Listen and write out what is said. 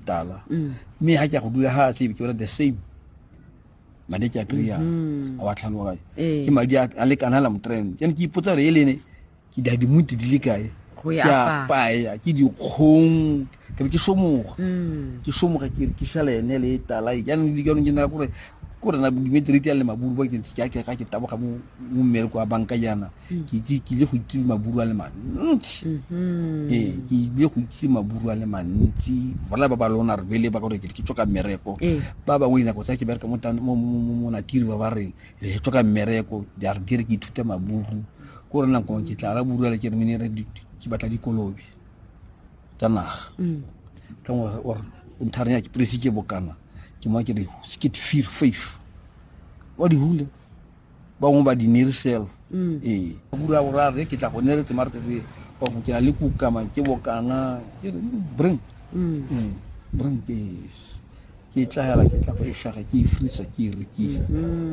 tala mme ga ke ya go dula ga se ke bona the same madi ke a kry-ang a wa tlhaloganya. Ke madi a lekana la motrend. Jaanong ke ipotsa gore e lene ke di dimonte di le kae Go e ke apaya. Apaya ke dikgong, ke be ke somoga, ke somoga, ke rekisa le ene le e tala. Jaanong jaanong ke nna kore kore na dimetriti a le maburu ba ke ke ke ga ke taboga mo mmereko wa banka jaana, ke itse ke ile go itse maburu a le mantsi. Ee, ke ile go itse maburu a le mantsi bona ba ba lona re bele ba gore ke tswa ka mmereko. Ba bangwe dinako tsa ke bereka mo mo Natiri, ba ba re re tswa ka mmereko ya re dire ke ithute maburu ko re nako ke tla ra buru le ke re mene re ke batla dikolobe tsa naga ka mo or nthare ya ke presi ke bokana ke mo ke re ke fear faith wa di hule ba bangwe ba di nerisel. Ee, buru a bora re ke tla go neretse mare ke re go ke na le kukama ke bokana ke re bring bring ke ke tla hela ke tla go e shaga ke e frisa ke e rekisa.